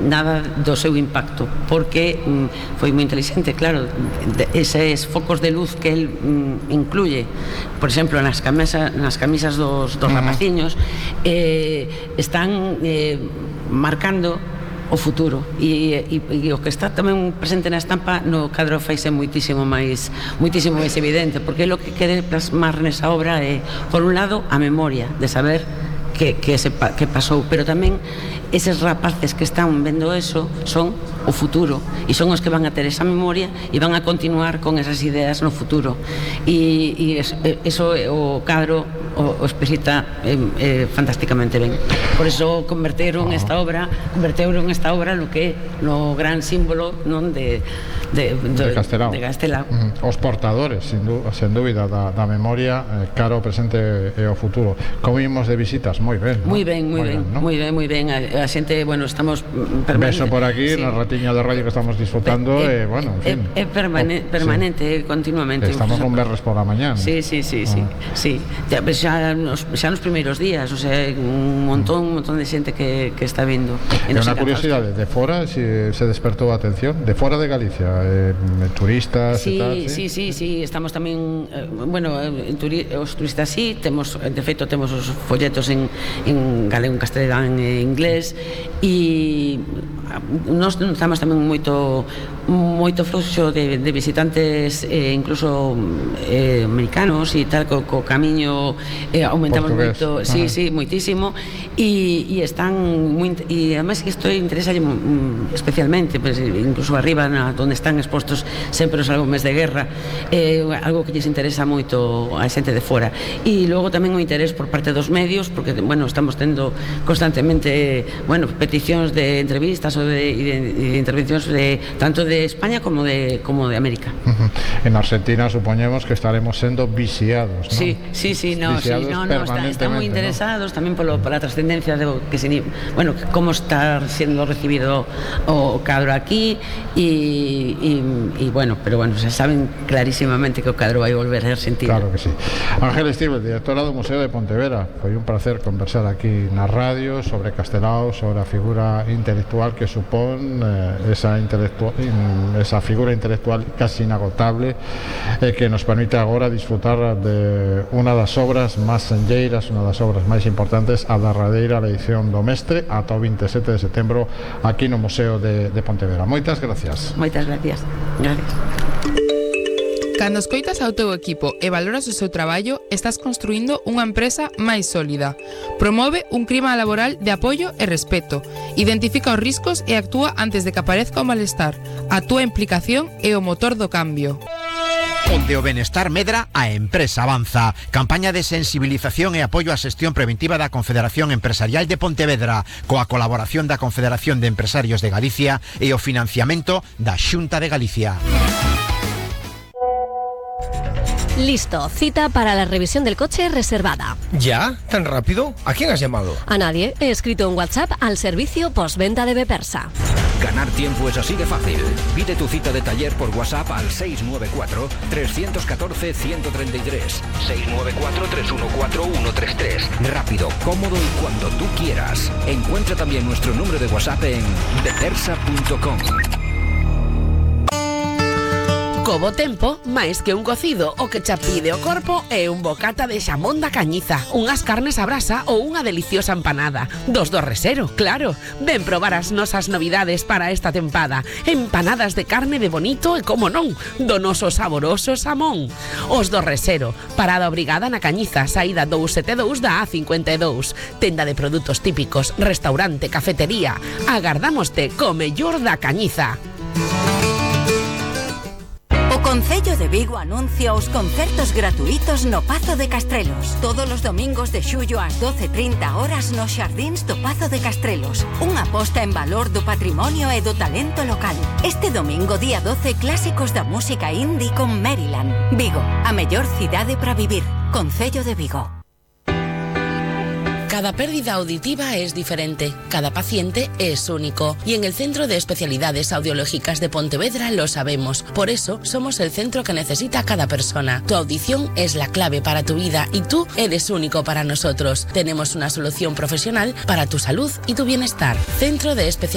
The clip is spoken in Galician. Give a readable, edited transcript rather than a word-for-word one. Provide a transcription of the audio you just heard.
nada do seu impacto, porque foi moi inteligente, claro, eses focos de luz que el incluye, por exemplo, nas camisas dos rapaciños, están marcando o futuro, e o que está tamén presente na estampa no cadro faise moitísimo máis evidente, porque lo que quere plasmar nesa obra é, por un lado, a memoria de saber que pasou, pero tamén eses rapaces que están vendo eso son o futuro, e son os que van a ter esa memoria e van a continuar con esas ideas no futuro, e eso o cadro o explicita fantásticamente ben. Por eso converteron esta obra no que é no gran símbolo, non, de Castelao. Os portadores, sen dúbida, da memoria, cara ao presente e ao futuro. Como imos de visitas? Moi ben. Moi ben. A xente, bueno, estamos permanente. Beso por aquí, na ratiña de radio que estamos disfrutando, bueno, en fin. É permanente, continuamente. Estamos un berres por a mañá. Sí. Xa nos primeiros días, o sea, un montón de xente que está vindo. É unha curiosidade, de fora se despertou a atención, de fora de Galicia, turistas e tal. Sí, estamos tamén, os turistas temos, de feito, temos os folletos en galego, en castelán e inglés, e nós notamos tamén moito fluxo de visitantes, incluso americanos e tal, co camiño aumentamos moito, moitísimo, e están e además que isto interesa especialmente, pues, incluso arriba onde están expostos sempre os álbumes de guerra, algo que lles interesa moito a xente de fora, e logo tamén o interés por parte dos medios, porque, bueno, estamos tendo constantemente, peticións de entrevistas ou de intervencións tanto de España como de América. En Argentina supoñemos que estaremos sendo viciados, ¿no? Sí, están moi interesados, ¿no? Tamén pola trascendencia de como está sendo recibido o cadro aquí, pero se saben clarísimamente que o cadro vai volver a Argentina. Claro que sí. Ángel Estíbal, directora do Museo de Pontevedra, foi un placer conversar aquí na radio sobre Castelao, sobre a figura intelectual que supón esa figura intelectual casi inagotable, que nos permite agora disfrutar de unha das obras máis senlleiras, unha das obras máis importantes, a derradeira edición do Mestre, ata o 27 de setembro aquí no Museo de Pontevedra. Moitas gracias. Moitas gracias. Cando escoitas ao teu equipo e valoras o seu traballo, estás construindo unha empresa máis sólida. Promove un clima laboral de apoio e respeto. Identifica os riscos e actúa antes de que aparezca o malestar. A túa implicación é o motor do cambio. Onde o benestar medra, a empresa avanza. Campaña de sensibilización e apoio á xestión preventiva da Confederación Empresarial de Pontevedra, coa colaboración da Confederación de Empresarios de Galicia e o financiamento da Xunta de Galicia. Listo, cita para la revisión del coche reservada. ¿Ya? ¿Tan rápido? ¿A quién has llamado? A nadie. He escrito un WhatsApp al servicio postventa de Bepersa. Ganar tiempo es así de fácil. Pide tu cita de taller por WhatsApp al 694-314-133. 694-314-133. Rápido, cómodo y cuando tú quieras. Encuentra también nuestro número de WhatsApp en bepersa.com. Co bo tempo, máis que un cocido, o que xa pide o corpo é un bocata de xamón da Cañiza, unhas carnes a brasa ou unha deliciosa empanada. Dos do Resero, claro. Ven probar as nosas novidades para esta tempada. Empanadas de carne de bonito e, como non, do noso saboroso xamón. Os do Resero, parada obrigada na Cañiza, saída 272 da A52. Tenda de produtos típicos, restaurante, cafetería. Agardámoste co mellor da Cañiza. O Concello de Vigo anuncia os concertos gratuitos no Pazo de Castrelos. Todos os domingos de xullo ás 12:30 horas nos xardíns do Pazo de Castrelos. Unha aposta en valor do patrimonio e do talento local. Este domingo, día 12, clásicos da música indie con Maryland. Vigo, a mellor cidade para vivir. Concello de Vigo. Cada pérdida auditiva es diferente, cada paciente es único y en el Centro de Especialidades Audiológicas de Pontevedra lo sabemos. Por eso somos el centro que necesita cada persona. Tu audición es la clave para tu vida y tú eres único para nosotros. Tenemos una solución profesional para tu salud y tu bienestar. Centro de Especialidades